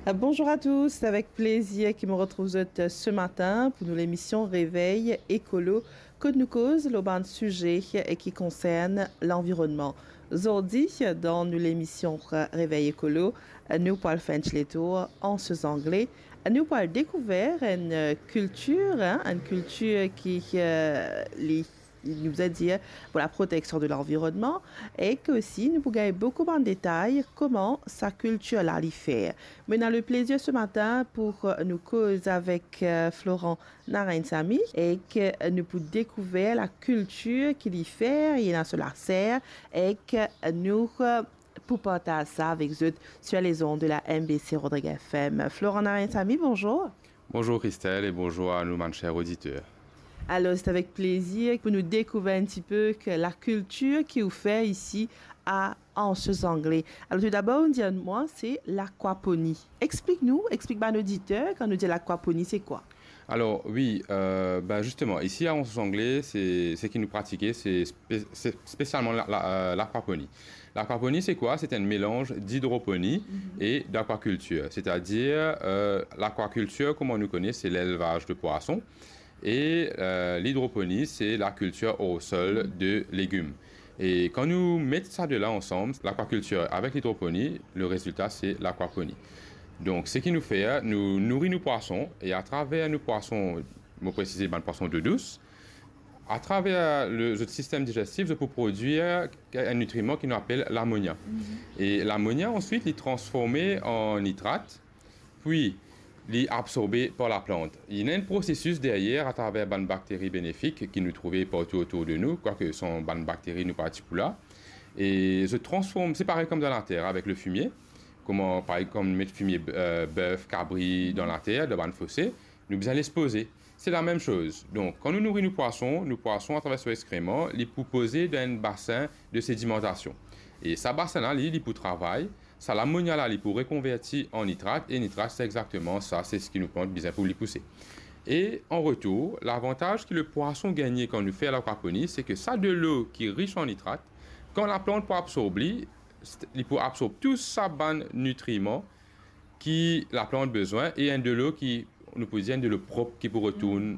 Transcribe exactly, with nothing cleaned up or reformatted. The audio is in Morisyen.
Bonjour à tous, c'est avec plaisir ki mo retrouv zot ce matin pour nou lemision Réveil Écolo, kot nou koz lor bann size ki konsern lanvironnman. Zordi, dan nou lemision Réveil Écolo, nou pou al fer enn ti letour an Anse aux Anglais. Nou pou al dekouver enn kiltir, hein, enn kiltir ki, euh, li, nou bizin dir, pour la protection de l'environnement, e ki osi nou pou gagn boukou bann detay kouma sa kiltir la li fer. Mo ena le plezir ce matin pour, euh, nou koz avek, euh, Florent Narayansamy e ki nou pou dekouver la kiltir ki li fer, li ena so laser, e ki nou, euh, pou partaz sa avek zot sur les ondes de la M B C Rodrigues F M. Florent Narayansamy, bonjour. Bonjour Christelle et bonjour à nos, mes chers auditeurs. Alors, c'est avec plaisir pour nous découvrir un petit peu que la culture qui vous fait ici à Anse aux Anglais. Alors, tout d'abord, on dit à moi, c'est l'aquaponie. Explique-nous, explique à nos auditeurs, quand nous dit l'aquaponie, c'est quoi ? Alors, oui, euh, ben justement, ici à Anse aux Anglais, c'est, ce qui nous pratiquons, c'est spé-, c'est spécialement la, la, euh, l'aquaponie. L'aquaponie, c'est quoi ? C'est un mélange d'hydroponie et d'aquaculture. C'est-à-dire, euh, l'aquaculture, comme on nous connaît, c'est l'élevage de poissons. Et, euh, l'hydroponie, c'est la culture au sol de légumes. Et quand nous mettons ça de là ensemble, l'aquaculture avec l'hydroponie, le résultat, c'est l'aquaponie. Donc, ce qui nous fait, nous nourrir nos poissons, et à travers nos poissons, mo presize, bann poisson d'eau douce, à travers le, le système digestif, zot pou prodwir un nutriment ki nou apel l'amonia. Mhm. E l'amonia, answit, li transforme an nitrat, puis li absorbe par la plant. Li ena enn prosesis deryer atraver bann bakteri benefik ki nou trouve partou otour de nou, kwake son bann bakteri nou pa ti pou la. E zot transform, c'est pareil comme dans la terre avec le fumier. Kouma, par exemple, met fimie, euh, bef, kabri dan later, dan bann fose, nou bizin les poze. C'est la même chose. Donk, kan nou nouri nou pwason, nou pwason, atraver so exkreman, li pou poze dan enn basin de sedimantasion. E sa basin la, li, li pou travay, sa lamonia la, li pou rekonverti an nitrat, e nitrat, se exakteman sa, se seki nou plant bizin pou li pouse. E an retour, lavantaz ki le pwason gagne kan nou fer lakwaponi, se ke sa delo ki ris an nitrat, kan laplant pou absorb li, li pou absorb tou sa bann nitriman ki laplant bizin, e enn delo ki, nou pou dir, enn delo prop ki pou retourn